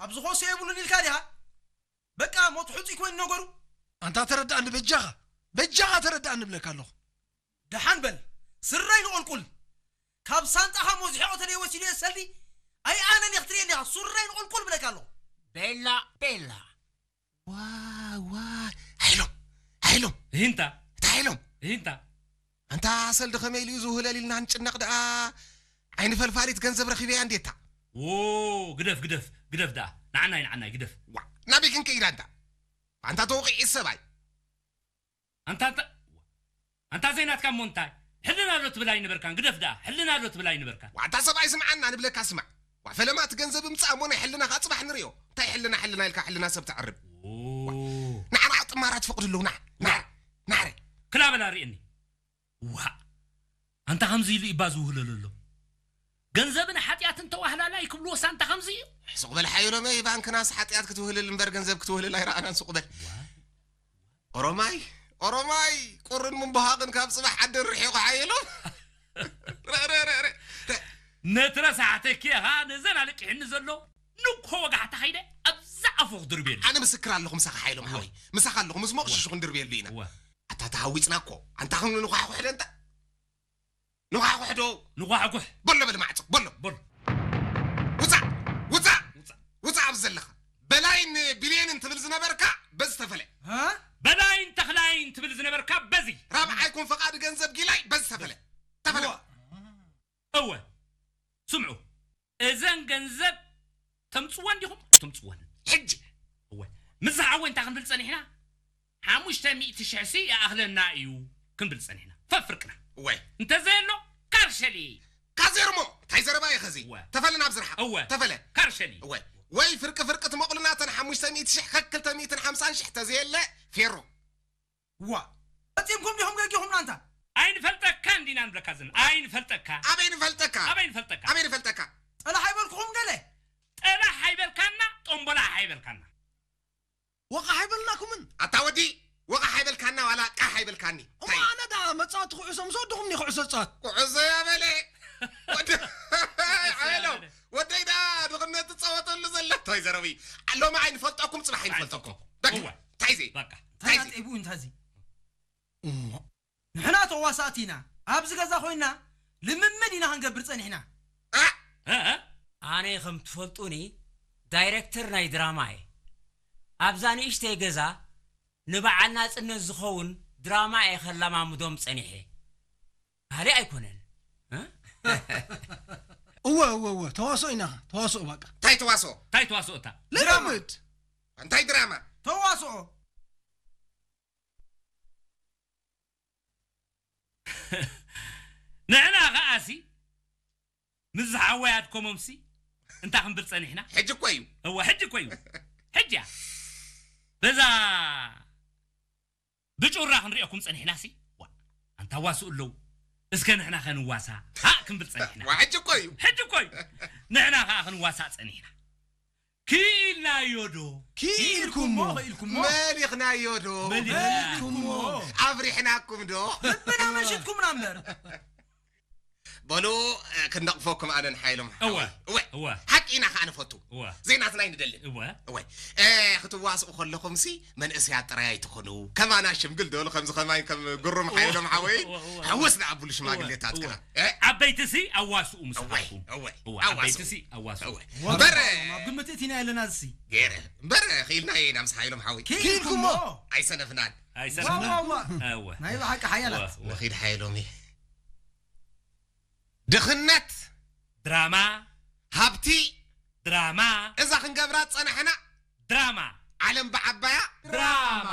ኣብዚ ኮሶ የብሉን ኢልካ ዲኻ? በቃ ሞት ሑጺ ኮይኑ ነገሩ። ኣንታ ተረዳእኒ በጃኻ፣ በጃኻ ተረዳእኒ እብለካ ኣለኹ። ደሓን በል፣ ስረይ ንቑልቁል። ካብ ሳንጣኻ ሞዝሒቖ ተለይ ወሲዱ እየ ሰልዲ። ኣይ ኣነን እየ ክትርእየኒ ኢኻ፣ ሱረይ ንቑልቁል እብለካ ኣለኹ። ቤላ፣ ቤላ። ዋይ፣ ዋይ፣ ሓይሎም፣ ሓይሎም። እሂንታ። እታ ሓይሎም። እሂንታ። ኣንታ ሰልዲ ከመይ ኢሉ እዩ ዝውህለል ኢልና ንጭነቕ ደኣ፣ ዓይኒ ፈልፋሊት ገንዘብ ረኺበያ እንዴታ። ዎ፣ ግደፍ፣ ግደፍ፣ ግደፍ ደኣ። ንዓናይ፣ ንዓናይ፣ ግደፍ። ዋ፣ ናበይ ክንከይድ ኣንታ? ኣንታ ተወቒዒ ሰብኣይ። ኣንታ፣ ኣንታ፣ ኣንታ ዘይናትካ እሞ እንታይ? ሕልና ዶ ትብል ኣይነበርካን? ግደፍ ደኣ፣ ሕልና ዶ ትብል ኣይነበርካን? ዋታ ሰብኣይ ስምዓና ንብለካ ስማዕ። ዋ ፈለማ እቲ ገንዘብ እምጻእ እሞ ናይ ሕልናኻ ጽባሕ ንርእዮ። እንታይ ሕልና ሕልና ኢልካ ሕልና ሰብ ተዕርብ? ኦ። ንዓና ጥማራ ትፈቕዱ ኣለዉ፣ ንዓ፣ ንዓ፣ ንዓ። ክላ በላ ርእየኒ። ዋ፣ ኣንታ ከምዚ ኢሉ ኢባ ዝውህለሉ ኣሎ። ገንዘብን ሓጢኣትን ተዋህላላይ ክብልዎስ ኣንታ ከምዚ እዩ? ሱቕ በል ሓየሎመይ፣ ባንክናስ ሓጢኣት ክትውህልል እምበር ገንዘብ ክትውህልል ኣይረኣናን፣ ሱቕ በል። ዋ። ኦሮማይ፣ ኦሮማይ፣ ቁርን ምንባሃቕን ካብ ጽባሕ ዓደን ርሒቑ ሓየሎም። ረ፣ ረ፣ ረ፣ ረ፣ ረ። ነቲ ረሳሕተኪ ኢኻ ነዘን ኣለቂሕኒ ዘሎ ንኮ ወጋሕታ ኸይደ ኣብዛ ኣፉ ክድርብየሉ። ኣነ ምስክር ኣለኹ ምሳኻ ሓየሎም እወ። ሓወይ። ምሳኻ ኣለኹ፣ ምስ ሞቕሽሹ እወ። ክንድርብየሉ ኢና። እወ። ኣታ ተሃዊጽና እኮ። ኣንታ ኽን ንኳሕኩሕ ደንታ። ንኳሕኩሕ ዶ? ንኳሕኩሕ። በሎ በል ማዕጾ፣ በሎ። በሎ። ውጻእ፣ ውጻእ፣ ውጻእ። ውጻእ ኣብዚ ዘለኻ። በላይን ቢልየንን ትብል ዝነበርካ በዚ ተፈለ። እ? በላይን ተኽላይን ትብል ዝነበርካ በዚ። ራብዓይ ኩን ፈቓድ ገንዘብ ጊላይ በዚ ተፈለ። ተፈለ። እወ። እወ። ስምዑ። እዘን ገንዘብ ተምጽወን ዲኹም? ተምጽወን። ሕጂ። እወ። ምስ ዝሓወ እንታይ ክንብል ጸኒሕና? ሓሙሽተ ሚእቲ ሽሕ ሲ ይኣኽለና እዩ ክንብል ጸኒሕና። ፈፍርቅና። እወ። እንተዘየሎ፣ ካርሸሊ። ካዜርሞ፣ እንታይ ዘረባ እዩ ኸዚ? እወ። ተፈለ ናብ ዝርሓቕ። እወ። ተፈለ። ካርሸሊ። እወ። ወይ ፍርቂ ፍርቂ ትመቑልና ተን ሓሙሽተ ሚእቲ ሽሕ ከክልተ ሚእትን ሓምሳን ሽሕ ተዘየለ፣ ፌሮ። ዋ። ፈጺምኩም ዲኹም ገጊኹምና ኣንታ? ኣይንፈልጠካን ዲና ንብለካ ዘለና። ኣይንፈልጠካ። ኣበይ ንፈልጠካ? ኣበይ ንፈልጠካ? ኣበይ ንፈልጠካ? ጠላሕ ኣይበልኩኹም ገለ? ጠላሕ ኣይበልካና፣ ጦምቦላ ኣይበልካና። ወቓሕ ኣይበልናኩምን? ኣታ ወዲ፣ ወቓሕ ኣይበልካና ዋላ ቃሕ ኣይበልካኒ። እሞ እንታይ? ኣነ ደኣ መጻወቲ ኩዕሶ ምስ ወድኹም እኒ ኩዕሶ ዝጻወት። ኩዕሶ እያ በለ። ወዲ፣ ኩዕሶ እያ ሓየሎም፣ በለ። ወደይ ደኣ ድኽነት ትጻወተሉ ዘላ። እንታይ ዘረቢ? ሎሚ ኣይንፈልጠኩም፣ ጽባሕ ኣይንፈልጠኩም። ኣይንፈልጠኩም። በቃ፣ እወ። እንታይ እዚ? በቃ። እንታይ እዚ? እንታይ ኣጥዒቡ፣ እንታይ እዚ? እሞ። ንሕና ተዋሳእቲ ኢና። ኣብዚ ገዛ ኮይና ልምምድ ኢና ክንገብር ጸኒሕና። እ? እ? ኣነ ከም ትፈልጡኒ ዳይሬክተር ናይ ድራማ እየ። ኣብዛ ንእሽተይ ገዛ ንበዓል ናጽነት ዝኸውን ድራማ እየ ከለማምዶም ጸኒሐ። ካልእ ኣይኮነን። እ? እወ፣ እወ፣ እወ፣ ተዋስኦ ኢና፣ ተዋስኦ በቃ። እንታይ ተዋስኦ? እንታይ ተዋስኦ እታ? ልምምድ። እንታይ ድራማ? ተዋስኦ። ንሕና ኸኣሲ ምስ ዝሓወይ ኣድኮሞምሲ እንታይ ክንብል ጸኒሕና? ሕጂ እኮ እዩ። እወ፣ ሕጂ እኮ እዩ። ሕጂ እያ። በዛ ብጩራ ክንሪኦኩም ጸኒሕናሲ። ዋ፣ ኣንታ ዋስኡ ኣለዉ። እስከ ንሕና ከ ንዋሳእ? ሃእ ክንብል ጸኒሕና። ዋ፣ ሕጂ እኮ እዩ። ሕጂ እኮ እዩ። ንሕና ከኣ ክንዋሳእ ጸኒሕና። ክኢልናዮ ዶ? ክኢልኩሞ። ክኢልኩሞ። መሊኽናዮ ዶ? መሊኽናዮ። መሊኽኩሞ። ኣብሪሕናኩም ዶ? ልብና መሽጥኩምና እምበር። በሉ፣ እ፣ ክንነቕፈኩም ኣነን ሓይሎም እወ። ሓወይ። እወ። እወ። ሓቂ ኢና ከኣ ንፈቱ። እወ። ዘይናትና ኣይንደልን። እወ። እወ። እ፣ ክትዋስኡ ከለኹምሲ መንእሰያት ጥራይ ኣይትኹኑ። ከማና ሽምግል ደሉ ከምዚ ከማይ ከም ግሩም ሓይሎም ሓወይ። እወ፣ እወ፣ እወ። ሕውስ ንኣብሉ ሽማግሌታት እወ፣ ከኣ። እወ። እ? ዓበይትሲ ኣዋስኡ ምሳኹም። እወ፣ እወ። እወ፣ ኣዋስኡ። ዓበይትሲ ኣዋስኡ። እወ። እወ። እምበር፣ ኣብ ግምት እቲና ኣለና እሲ። ገይረ። እምበር፣ ክኢልና ኢና ምስ ሓይሎም ሓወይ። ክኢልኩሞ። ኣይሰነፍናን። ኣይሰነፍናን። ዋ፣ ዋ፣ ዋ። እወ። ናይ ብሓቂ ሓያላት። እወ፣ እወ። ንኺድ ሓይሎም እዩ። ድኽነት። ድራማ። ሃብቲ። ድራማ። እዛ ክንገብራ ዝጸናሕና። ድራማ። ዓለም ብዓባያ። ድራማ።